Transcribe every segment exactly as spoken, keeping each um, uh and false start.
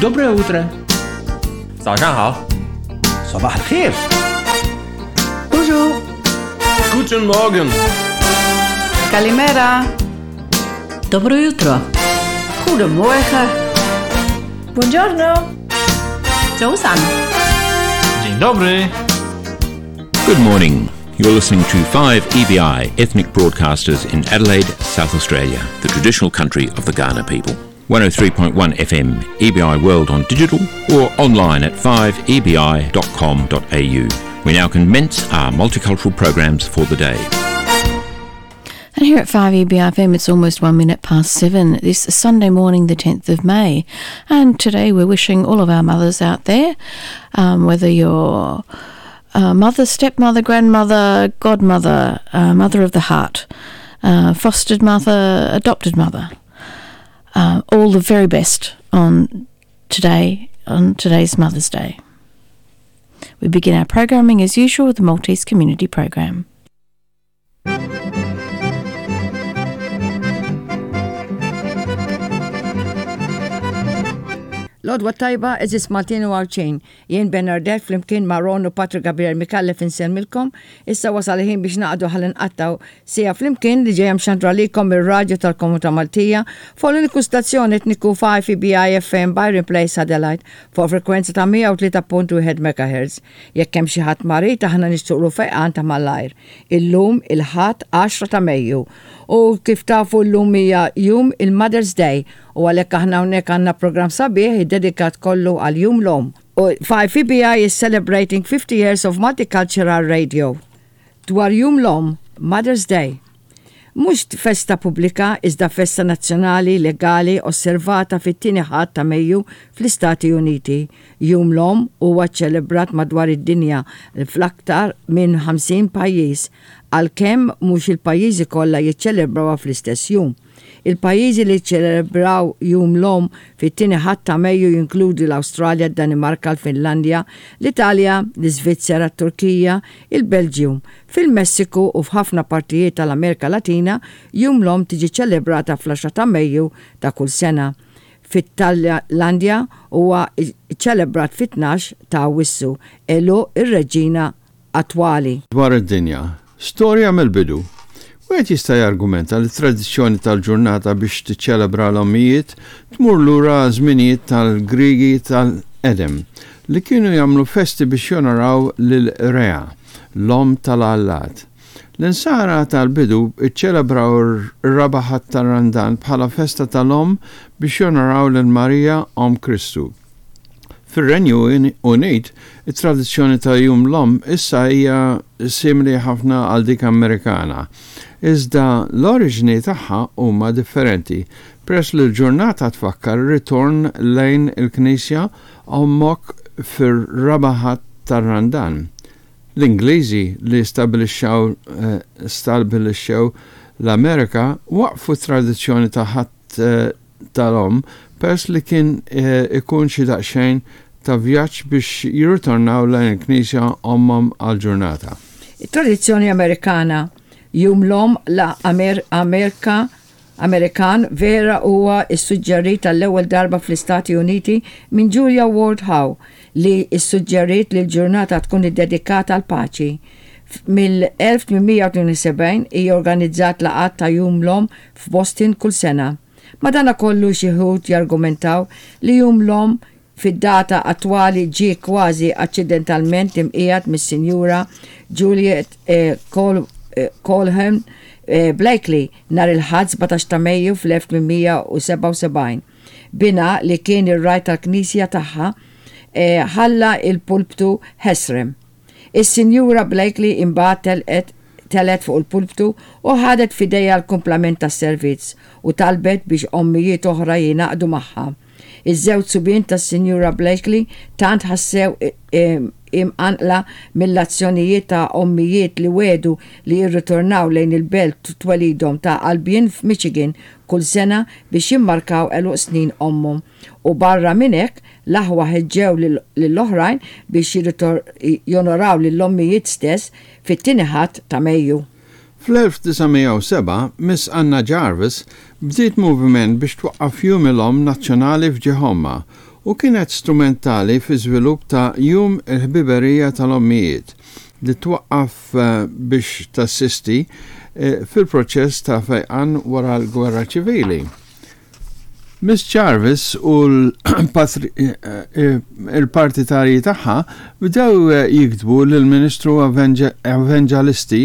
Доброе утро. 早上好。 صباح الخير. Bonjour. Guten Morgen. Καλημέρα. Dobro jutro. Goedemorgen. Buongiorno. 早晨。 Dzień dobry. Good morning. You're listening to five E B I Ethnic Broadcasters in Adelaide, South Australia, the traditional country of the Kaurna people. one oh three point one F M, E B I World on digital or online at five E B I dot com dot A U. We now commence our multicultural programs for the day. And here at five E B I F M, it's almost one minute past seven this Sunday morning, the tenth of May. And today we're wishing all of our mothers out there, um, whether you're uh, mother, stepmother, grandmother, godmother, uh, mother of the heart, uh, fostered mother, adopted mother, uh, all the very best on today, on today's Mother's Day. We begin our programming as usual with the Maltese Community Program. L-għodwa t-tajba, għeżież Maltin u Għawdxin. Jien Bernadette flimkien ma' Ron u Patrick Gabriel Micallef insellmilkom. Issa wasal ħin biex naqdu ħalli nqattgħu siegħa flimkien li ġejja mxandra lilkom ir-radju tal-Komunità Maltija fuq l-uniku stazzjon etniku five E B I F M Byron Place, Adelaide, fuq frekwenza ta' mija u tlieta punt wieħed M H. Jekk hemm xi ħadd marid, aħna nixtieqlu fejqan ta' malajr. Illum il-Ħadd għaxra ta' Mejju. U kif tafu, llum hija jum il-Mother's Day u għalhekk aħna hawnhekk għandna program sabiħ iddedikat kollu għal Jum l-Omm. U five E B I is celebrating fifty years of multicultural radio. Dwar Jum l-Omm, Mother's Day. Mhux festa pubblika, iżda festa nazzjonali legali osservata fit-tieni Ħadd ta' Mejju fl-Istati Uniti. Jum l-Omm huwa ċelebrat madwar id-dinja fl-aktar minn ħamsin pajjiż, għalkemm mhux il-pajjiżi kollha jiċċelebrawha fl-istess jum. Il-pajjiżi li ċelebraw Jum l-Omm fit-tieni Ħadd ta' Mejju jinkludu l-Awstralja, d-Danimarka, l-Finlandja, l-Italja, l-Iżvizzera, t-Turkija, il-Belġium. Fil-Messiku u f'ħafna partijiet tal-Amerika Latina, Jum l-Omm tiġi ċelebrata fl-għaxra ta' Mejju ta' kull sena. Fit-Tajlandja huwa ċelebrat fit-tnax ta' Awwissu, għeluq ir-reġina attwali. Dwar id-dinja, storja mill-bidu. Wieħed jista' jargumenta li tradizzjoni tal-ġurnata biex tiċċelebra l-ommijiet tmur lura żminijiet tal-Grigi tal-qedem li kienu jagħmlu festi biex jonoraw lil Rea, l-om tal-allat. L-insara tal-bidu iċċelebraw ir-raba' Ħadd tar-Randan bħala festa tal-om biex jonoraw lil Marija, Om Kristu. Fir-Renju Unit, it-tradizzjoni ta' Jum l-Om issa hija simili ħafna għal dik Amerikana. Iżda l-oriġini tagħha huma differenti, peress li l-ġurnata tfakkar ritorn lejn il-Knisja ommok fir-raba' Ħadd tar-Randan. L-Ingliżi li stabilixxew eh, stabilixxew l-Amerika waqfu tradizzjoni ta' Ħadd eh, tal-Om peress li kien eh, ikun xi daqsxejn ta' vjaġġ biex jirritornaw lejn il-Knisja ommhom għal-ġurnata. Tradizzjoni Amerikana. Jum l-Omm la Amer Amerika Amerikan vera huwa issuġġerit għall-ewwel darba fl-Istati Uniti minn Julia Ward Howe, li issuġġerit li l-ġurnata tkun iddedikata għal paċi. Mill-elf tmien mija u tnejn u sebgħin hija organizzat laqgħat ta' Jum l-Omm f'Boston kull sena. Madana kollu xi wħud jargumentaw li Jum l-Omm fid-data attwali ġie kważi accidentalment imqiegħed mis-Sinjura Juliet eh, Col eh, Colham eh, Blakely nhar il-Ħadd sbatax ta' Mejju fl-elf tmien mija u sebgħa u sebgħin. Binha, li kien ir-ragħaj tal-Knisja tagħha, eh, ħalla il-pulptu ħesrem. Is-Sinjura Blakely imbagħad telqet telgħet fuq il-pulptu u ħadet f'idejha l-kumplament tas-servizz u talbet biex ommijiet oħra jingħaqdu magħha. Iż-żewġ subien tas-Sinjura Blakely tant ħassew imqanqla mill-azzjonijiet ta' ommijiet li wegħdu li jirritornaw lejn il-belt twelidhom ta' Albion f'Michigan kull sena biex jimmarkaw għeluq snin ommhom. U barra minn hekk, l-aħwa ħeġġew lill-oħrajn biex jonoraw lill-ommijiet stess fit-tieni Ħadd ta' Mejju. Fl-elf disa' mija u sebgħa, Miss Anna Jarvis bdiet moviment biex twaqqaf Jum l-Omm Nazzjonali f'ġieħ ommha. u kienet strumentali fi żvilupp ta' Jum il-Ħbiberija tal-Ommijiet li twaqqaf eh, biex tassisti eh, fil-proċess ta' fejqan wara l-Gwerra Ċivili. Miss Jarvis u l-partitarji tagħha bdew jiktbu lill-Ministru Evanġelisti,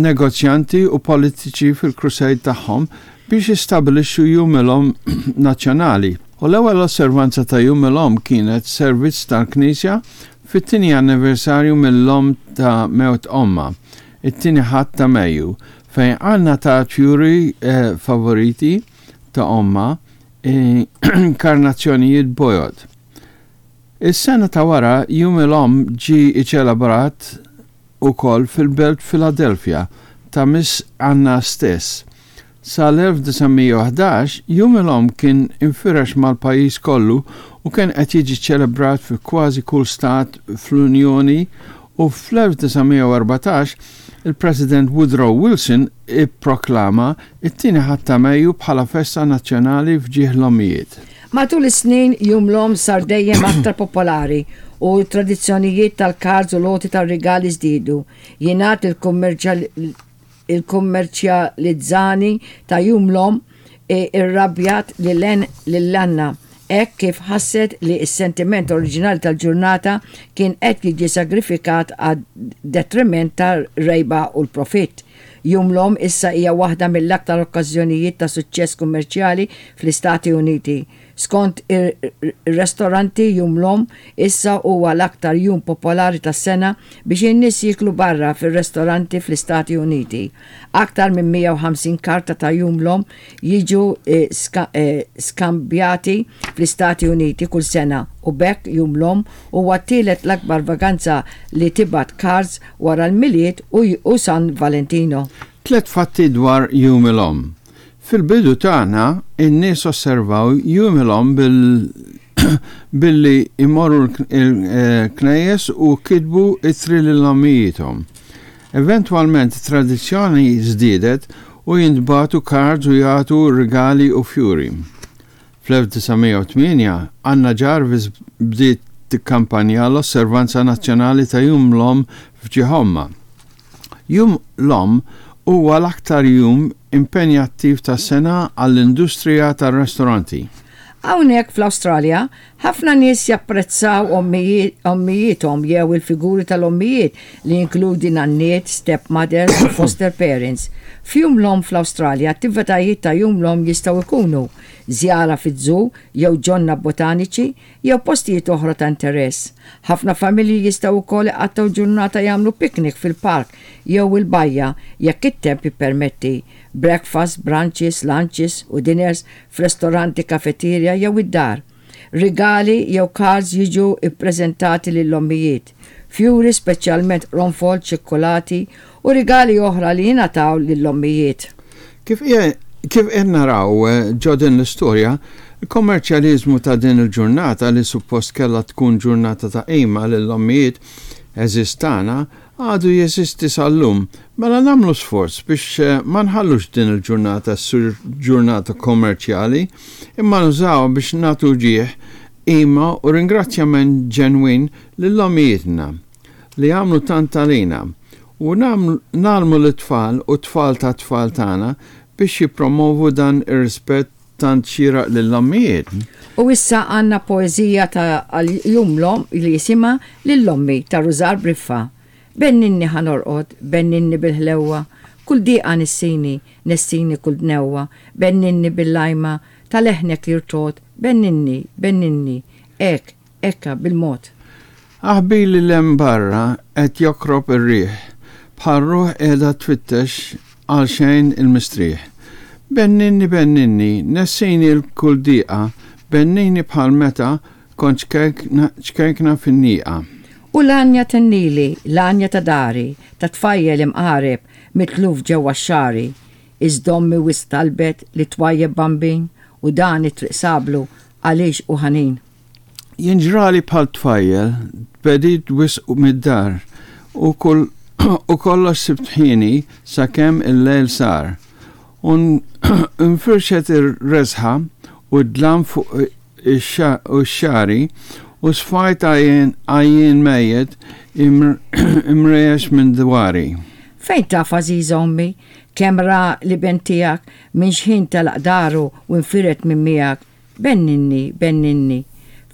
negozjanti u politiċi fil-crusade tagħhom biex jistabilixxu Jum il-Omm nazzjonali. U l-ewwel osservanza ta' Jum il-Omm kienet servizz tal-Knisja fit-tieni anniversarju mill-lum ta' mewt ommha, it-tieni Ħadd ta' Mejju, fejn Anna ta' fjuri eh, favoriti ta' ommha, eh, karnazzjonijiet bojod. Is-sena ta' wara Jum il-Omm ġi iċelebrat ukoll fil-belt Philadelphia ta' Miss Anna stess. Sal-elf disa' mija u ħdax Jum il-Omm kien infirex mal-pajjiż kollu u kien qed jiġi ċelebrat fi kważi kull stat fl-Unjoni u fl-elf disa' mija u erbatax il-President Woodrow Wilson ipproklama it-tieni Ħadd ta' Mejju bħala festa nazzjonali f'ġieħ l-ommijiet. Matul is-snin, Jum l-Omm sar dejjem aktar popolari u tradizzjonijiet tal-cards u l-għoti tal-rigali żdiedu. Jingħad il-kummerċjalizzazzjoni ta' Jum l-Omm irrabjat lil Anna hekk kif ħasset li s-sentiment oriġinali tal-ġurnata kien qed jiġi sagrifikat għad-detriment tar-rejba u l-profitt. Jum l-Omm issa hija waħda mill-aktar okkażjonijiet ta' suċċess kummerċjali fl-Istati Uniti. Skont ir-restoranti, Jum l-Omm issa huwa l-aktar jum popolari tas-sena biex in-nies jiklu barra fir-restoranti fl-Istati Uniti. Aktar minn mija u ħamsin karta ta' Jum l-Omm jiġu eh, eh, skambjati fl-Istati Uniti kull sena u b'hekk Jum l-Omm huwa t-tielet l-akbar vaganza li tibgħat cards wara l-Milied u San Valentino. Tlet fatti dwar Jum il-Omm. Fil-bidu tagħna, in-nies osservaw Jum il-Omm bil billi imorru l-knejjes u kitbu ittri lil-ommijiethom. Eventwalment tradizzjoni żdiedet u jintbagħtu cards u jagħtu rigali u fjuri. Fl-elf disa' mija u tmienja, Anna Jarvis bdiet tikkampanja l-osservanza nazzjonali ta' Jum l-Omm f'ġieħ ommha. Jum l-Omm huwa l-aktar jum impenjattiv tas-sena għall-industrija tar-ristoranti. Hawnhekk fl-Awstralja, ħafna nies japprezzaw ommijiethom jew il-figuri tal-ommijiet li jinkludi nanniet, stepmothers u foster parents. F'Jum l-Omm fl-Awstralja, attivitajiet ta' Jum l-Omm jistgħu jkunu żjara fiż-zoo jew ġonna botaniċi jew postijiet oħra ta' interess. Ħafna familji jistgħu wkoll iqattgħu ġurnata jagħmlu piknik fil-park jew il-bajja jekk it-temp jippermetti. Breakfast, brunches, lunches u dinners f'restoranti, kafeterja jew id-dar. Rigali jew cards jiġu ippreżentati lill-ommijiet. Fjuri, speċjalment qronfol, ċikkolati u rigali oħra li jingħataw lill-ommijiet. Kif kif qed naraw eh, ġo din l-istorja, il-kommerċjalizmu ta' din il-ġurnata li suppost kellha tkun ġurnata ta' qima lill-ommijiet eżistana għadu jeżisti sal-lum. Mela nagħmlu sforz biex eh, ma nħallux din il-ġurnata ssir ġurnata kommerċjali, imma nużaw biex nagħtu ġieħ, qima u ringrazzjament ġenwin lill-ommijietna li għamlu tant għalina u ngħallmu l-tfal u tfal ta' tfal tagħna biex jipromovu dan ir-rispett tant xieraq lill-ommijiet. U issa għandna poezija ta' Jum l-Omm li jisimha Lil Ommi ta' Rużar Briffa. Benninni ħa norqod, benninni bil-ħlewwa, kull diqa nissini, nessini kull dnewwa, benninni bil-lajma, ta' leħnek jirtogħod, benninni, benninni, hekk, hekka bil-mod. Aħbili 'l hemm barra qed jokrob ir-riħ, bħal ruħ qiegħda tfittex għal xejn il-mistrieħ. Benninni, benninni, nessini l-kull diqa, benninni bħal meta kont ċkejkna fin-nieqa. U l-għanja tennili, l-għanja ta' dari, ta' tfajjel imqareb, mitluf ġewwa xagħri. Iżda ommi wisq talbet li twajjeb bambin u dan it-triq sablu għaliex u ħanin. Jien ġrali bħal tfajjel, tbegħidt wisq mid-dar u kull u kollox sibt ħini sakemm il-lejl sar. U nfirxet ir-reżħa u d-dlam fuq x-xagħri u sfajt għajjien mejjet imrejjex minn dwari. Fejn taf, għażiża ommi, kemm ra l-iben tiegħek minn xħin telaq daru u nfired minn miegħek? Benninni, benninni,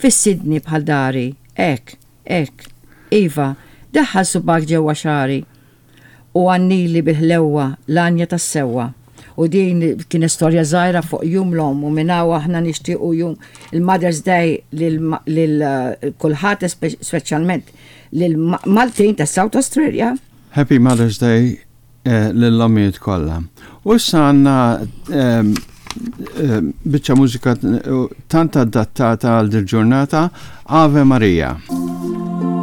fissidni bħal dari, hekk, hekk, iva, daħħal subgħajk ġewwa xagħri u għannili bil-ħlewwa l-għanja tas-sewwa. U din kien storja żgħira fuq Jum l-Omm u minn hawn aħna nixtiequ jum il-Mother's Day lil kulħadd, speċjalment lil Maltin ta' South Australia. Happy Mother's Day eh, lill-ommijiet kollha. U issa għandna ehm, ehm, biċċa mużika tant adattata għal dil-ġurnata, Ave Maria.